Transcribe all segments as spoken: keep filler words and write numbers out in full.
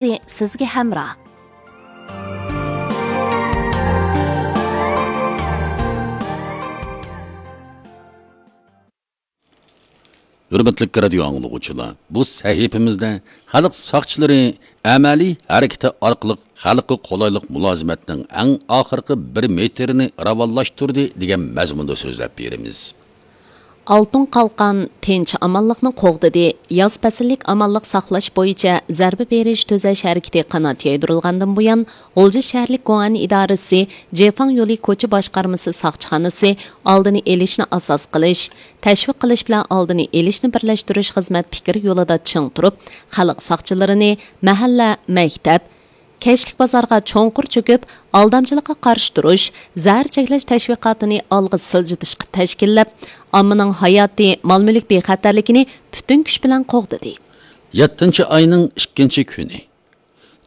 سىزگە ھەمراھ. ھۆرمەتلىك رادىيو ئاڭلىغۇچىلار، بۇ سەھىپىمىزدە خەلق ساقچىلىرى ئەمەلىي ھەرىكىتى ئارقىلىق خەلققە قولايلىق مۇلازىمەتنىڭ ئەڭ ئاخىرقى بىر مېتىرىنى راۋانلاشتۇردى دېگەن مەزمۇندا سۆزلەپ بېرىمىز. ئالتۇن قالقان تىنچ-ئامانلىقنى قوغدىدى. ياز پەسىللىك ئامانلىق ساقلاش بويىچە زەربە بېرىش تۈزەش ھەرىكىتى قانات يايدۇرۇلغاندىن بۇيان، غۇلجا شەھەرلىك گوئەن ئىدارىسى جېفاڭ يولى كوچا باشقارمىسى ساقچىخانىسى ئالدىنى ئېلىشنى ئاساس قىلىش، تەشۋىق قىلىش بىلەن ئالدىنى ئېلىشنى بىرلەشتۈرۈش خىزمەت پىكرى يولىدا چىڭ تۇرۇپ، خەلق ساقچىلىرىنى مەھەللە، مەكتەپ، كەچلىك بازارغا چوڭقۇر چۆكۈپ، ئالدامچىلىققا قارشى تۇرۇش، زەھەر چەكلەش تەشۋىقاتىنى ئالغا سىلجىتىشقا تەشكىللەپ، ئاممىنىڭ ھاياتى، مال-مۈلۈك بىخەتەرلىكىنى پۈتۈن كۈچ بىلەن قوغدىدى. يەتتىنچى ئاينىڭ ئىككىنچى كۈنى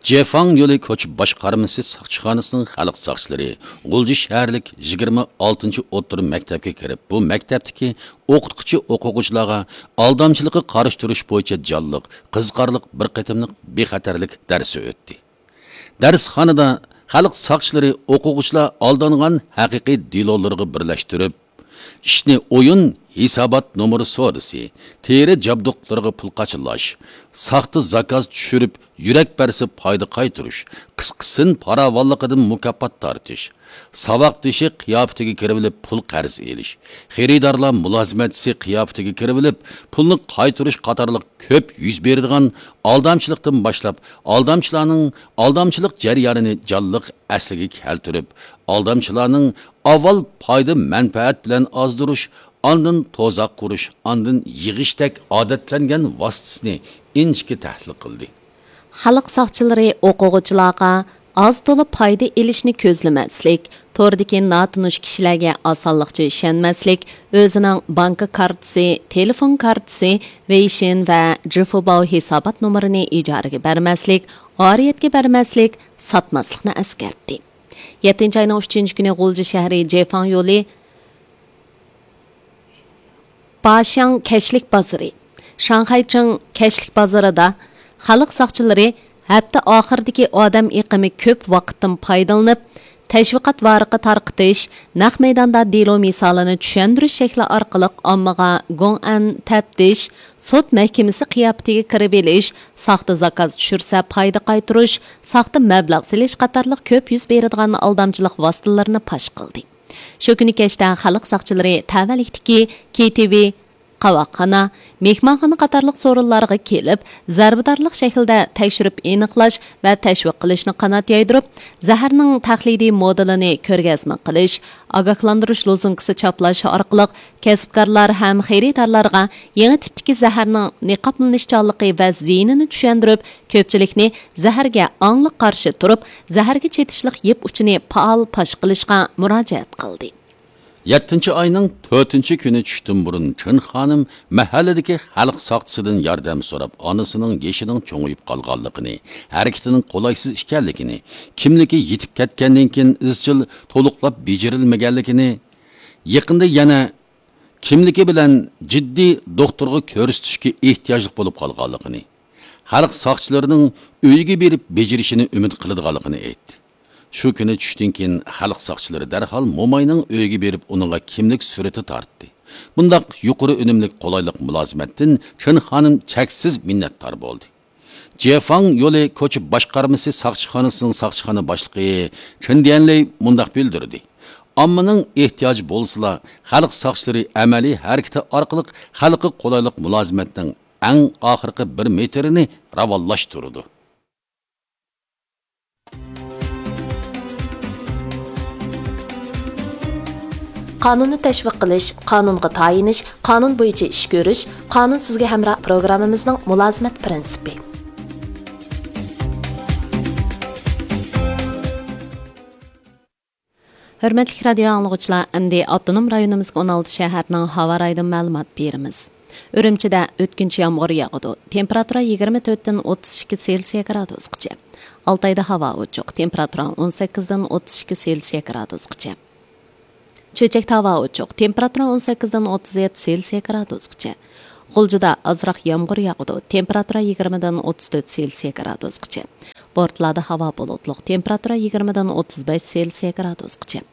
جېفاڭ يولى كوچا باشقارمىسى ساقچىخانىسىنىڭ خەلق ساقچىلىرى غۇلجا شەھەرلىك يىگىرمە ئالتىنچى ئوتتۇرا مەكتەپكە كىرىپ، بۇ مەكتەپتىكى ئوقۇتقۇچى ئوقۇغۇچىلارغا ئالدامچىلىققا قارشى تۇرۇش بويىچە جانلىق، قىزىقارلىق بىر قېتىملىق بىخەتەرلىك دەرسى ئۆتتى. دەرسخانىدا خەلق ساقچىلىرى ئوقۇغۇچىلار ئالدانغان ھەقىقىي دېلولىرىغا بىرلەشتۈرۈپ، ئىشنى ئويۇن، ھېسابات نومۇرى سودىسى، تېرە جابدۇقلىرىغا پۇل قاچىلاش، ساختا زاكاز چۈشۈرۈپ، يۈرەك بەرسە پايدا قايتۇرۇش، قىسقىسىن پاراۋانلىقىدىن مۇكاپات تارتىش، ساۋاقدىشى قىياپىتىگە كىرىۋېلىپ پۇل قەرز ئېلىش، خېرىدارلار مۇلازىمەتچىسى قىياپىتىگە كىرىۋېلىپ پۇلنى قايتۇرۇش قاتارلىق كۆپ يۈز بېرىدىغان ئالدامچىلىقتىن باشلاپ، ئالدامچىلارنىڭ ئالدامچىلىق جەريانىنى جانلىق ئەسلىگە كەلتۈرۈپ، ئالدامچىلارنىڭ ئاۋۋال پايدا مەنپەئەت بىلەن ئازدۇرۇش، ئاندىن تۇزاق قۇرۇش، ئاندىن يىغىشتەك ئادەتلەنگەن ۋاسىتىسىنى ئىنچىكە تەھلىل قىلدى. خەلق ساقچىلىرى ئوقۇغۇچىلارغا ئاز تولا پايدا ئېلىشنى كۆزلىمەسلىك، توردىكى ناتونۇش كىشىلەرگە ئاسانلىقچە ئىشەنمەسلىك، ئۆزىنىڭ بانكا كارتىسى، تېلېفون كارتىسى، ۋېيشىن ۋە جىفۇباۋ ھېسابات نومۇرىنى ئىجارىگە بەرمەسلىك، ئارىيەتكە بەرمەسلىك، ساتماسلىقنى ئەسكەرتتى. يەتتىنچى ئاينىڭ ئۈچىنچى كۈنى غۇلجا شەھىرى جېفاڭ يولى باشياڭ كەچلىك بازىرى، شاڭخەيچىڭ كەچلىك بازىرىدا خەلق ساقچىلىرى ھەپتە ئاخىرىدىكى ئادەم ئېقىمى كۆپ ۋاقىتتىن پايدىلىنىپ، تەشۋىقات ۋارىقى تارقىتىش، نەق مەيداندا دېلو مىسالىنى چۈشەندۈرۈش شەكلى ئارقىلىق ئاممىغا گوڭئەن تەپتىش، سوت مەھكىمىسى قىياپىتىگە كىرىۋېلىش، ساختا زاكاز چۈشۈرسە پايدا قايتۇرۇش، ساختا مەبلەغ سېلىش قاتارلىق كۆپ يۈز بېرىدىغان ئالدامچىلىق ۋاسىتىلىرىنى پاش قىلدى. شۇ كۈنى كەچتە خەلق ساقچىلىرى تەۋەلىكتىكى كېي تىي ۋى، قاۋاقخانا، مېھمانخانا قاتارلىق سورۇنلارغا كېلىپ، زەربىدارلىق شەكلىدە تەكشۈرۈپ ئېنىقلاش ۋە تەشۋىق قىلىشنى قانات يايدۇرۇپ، زەھەرنىڭ تەقلىدىي مودېلىنى كۆرگەزمە قىلىش، ئاگاھلاندۇرۇش لوزۇنكىسى چاپلاش ئارقىلىق كەسىپكارلار ھەم خېرىدارلارغا يېڭى تىپتىكى زەھەرنىڭ نىقابلىنىشچانلىقى ۋە زىيىنىنى چۈشەندۈرۈپ، كۆپچىلىكنى زەھەرگە ئاڭلىق قارشى تۇرۇپ، زەھەرگە چېتىشلىق يىپ ئۇچىنى پائال پاش قىلىشقا مۇراجىئەت قىلدى. يەتتىنچى ئاينىڭ تۆتىنچى كۈنى چۈشتىن بۇرۇن چىن خانىم مەھەللىدىكى خەلق ساقچىسىدىن ياردەم سوراپ، ئانىسىنىڭ يېشىنىڭ چوڭىيىپ قالغانلىقىنى، ھەرىكىتىنىڭ قولايسىز ئىكەنلىكىنى، كىملىكى يىتىپ كەتكەندىن كېيىن ئىزچىل تولۇقلاپ بېجىرىلمىگەنلىكىنى، يېقىندا يەنە كىملىكى بىلەن جىددىي دوختۇرغا كۆرسىتىشكە ئېھتىياجلىق بولۇپ قالغانلىقىنى، خەلق ساقچىلىرىنىڭ ئۆيىگە بېرىپ بېجىرىشىنى ئۈمىد قىلىدىغانلىقىنى ئېيتتى. شۇ كۈنى چۈشتىن كېيىن خەلق ساقچىلىرى دەرھال موماينىڭ ئۆيىگە بېرىپ ئۇنىڭغا كىملىك سۈرىتى تارتتى. بۇنداق يۇقىرى ئۈنۈملۈك قولايلىق مۇلازىمەتتىن چىن خانىم چەكسىز مىننەتدار بولدى. جيەفاڭ يولى كوچا باشقارمىسى ساقچىخانىسىنىڭ ساقچىخانا باشلىقى چېن ديەنلەي مۇنداق بىلدۈردى: ئاممىنىڭ ئېھتىياجى بولسىلا، خەلق ساقچىلىرى ئەمەلىي ھەرىكىتى ئارقىلىق خەلققە قولايلىق مۇلازىمەتنىڭ ئەڭ ئاخىرقى بىر مېتىرىنى راۋانلاشتۇرىدۇ. قانۇننى تەشۋىق قىلىش، قانۇنغا تايىنىش، قانۇن بويىچە ئىش كۆرۈش، قانۇن سىزگە ھەمراھ پروگراممىمىزنىڭ مۇلازىمەت پىرىنسىپى. ھۆرمەتلىك رادىيو ئاڭلىغۇچىلار، ئەمدى ئاپتونوم رايونىمىزدىكى ئون ئالتە شەھەرنىڭ ھاۋا رايىدىن مەلۇمات بېرىمىز. ئۈرۈمچىدە ئۆتكۈنچى يامغۇر ياغىدۇ. تېمپېراتۇرا يىگىرمە تۆتتىن ئوتتۇز ئىككى سېلسىيە گرادۇسقىچە. ئالتايدا ھاۋا ئوچۇق. تېمپېراتۇرا ئون سەككىزدىن ئوتتۇز ئىككى سېلسىيە گرادۇسقىچە. چۆچەكتە ھاۋا ئوچۇق. تېمپېراتۇرا ئون سەككىزدىن ئوتتۇز يەتتە سېلسىيە گرادۇسقىچە. غۇلجىدا ئازراق يامغۇر ياغىدۇ، تېمپېراتۇرا يىگىرمىدىن ئوتتۇز تۆت سېلسىيە گرادۇسقىچە. بورتالادا ھاۋا بۇلۇتلۇق، تېمپېراتۇرا يىگىرمىدىن ئوتتۇز بەش سېلسىيە گرادۇسقىچە.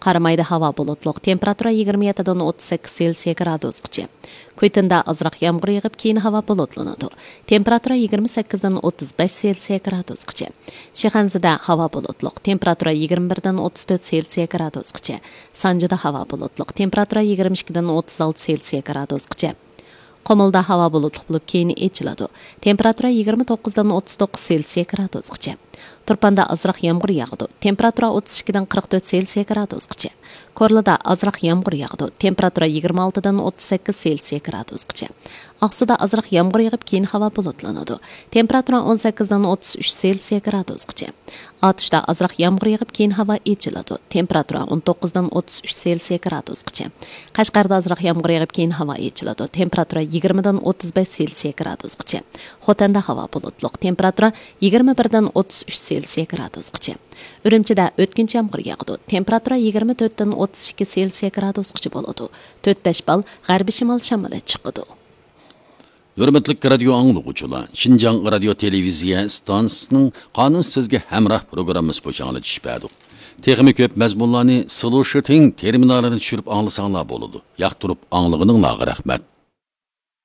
قارامايدا ھاۋا بۇلۇتلۇق، تېمپېراتۇرا يىگىرمە يەتتىدىن ئوتتۇز سەككىز سېلسىيە گرادۇسقىچە. كۈيتۇندا ئازراق يامغۇر يېغىپ، كېيىن ھاۋا بۇلۇتلىنىدۇ. تېمپېراتۇرا يىگىرمە سەككىزدىن ئوتتۇز بەش سېلسىيە گرادۇسقىچە. شىخەنزىدە ھاۋا بۇلۇتلۇق، تېمپېراتۇرا يىگىرمە بىردىن ئوتتۇز تۆت سېلسىيە گرادۇسقىچە. سانجىدا ھاۋا بۇلۇتلۇق، تېمپېراتۇرا يىگىرمە ئىككىدىن ئوتتۇز ئالتە سېلسىيە گرادۇسقىچە. قۇمۇلدا ھاۋا بۇلۇتلۇق بولۇپ، كېيىن ئېچىلىدۇ. تېمپېراتۇرا يىگىرمە توققۇزدىن ئوتتۇز توققۇز سېلسىيە گرادۇسقىچە. تۇرپاندا ئازراق يامغۇر ياغىدۇ. تېمپېراتۇرا ئوتتۇز ئىككىدىن قىرىق تۆت سېلسىيە گرادۇسقىچە. كورلىدا ئازراق يامغۇر ياغىدۇ. تېمپېراتۇرا يىگىرمە ئالتىدىن ئوتتۇز سەككىز سېلسىيە گرادۇسقىچە. ئاقسۇدا ئازراق يامغۇر يېغىپ، كېيىن ھاۋا بۇلۇتلىنىدۇ. تېمپېراتۇرا ئون سەككىزدىن ئوتتۇز ئۈچ سېلسىيە گرادۇسقىچە. ئاتۇشتا ئازراق يامغۇر يېغىپ، كېيىن ھاۋا ئېچىلىدۇ. تېمپېراتۇرا ئون توققۇزدىن ئوتتۇز ئۈچ سېلسىيە گرادۇسقىچە. قەشقەردە ئازراق يامغۇر يېغىپ، كېيىن ھاۋا ئېچىلىدۇ. تېمپېراتۇرا يىگىرمىدىن ئوتتۇز بەش سېلسىيە گرادۇسقىچە. خوتەندە ھاۋا بۇلۇتلۇق. تېمپېراتۇرا يىگىرمە بىردىن ئوتتۇز ئۈچ سېلسىيە گرادۇسقىچە. ئۈرۈمچىدە ئۆتكۈنچى يامغۇر ياغىدۇ. تېمپېراتۇرا يىگىرمە تۆتتىن ئوتتۇز ئىككى سېلسىيە گرادۇسقىچە بولىدۇ. تۆت بەش بال غەربىي شىمال شامىلى چىقىدۇ. ھۆرمەتلىك رادىيو ئاڭلىغۇچىلار، شىنجاڭ رادىيو تېلېۋىزىيە ئىستانسىسىنىڭ قانۇن سىزگە ھەمراھ پروگراممىسى بويىچە ئاڭلىتىش بەردۇق. تېخىمۇ كۆپ مەزمۇنلارنى سلوشىتىڭ تېرمىنالىنى چۈشۈرۈپ ئاڭلىساڭلار بولىدۇ. ياقتۇرۇپ ئاڭلىغىنىڭلارغا رەھمەت.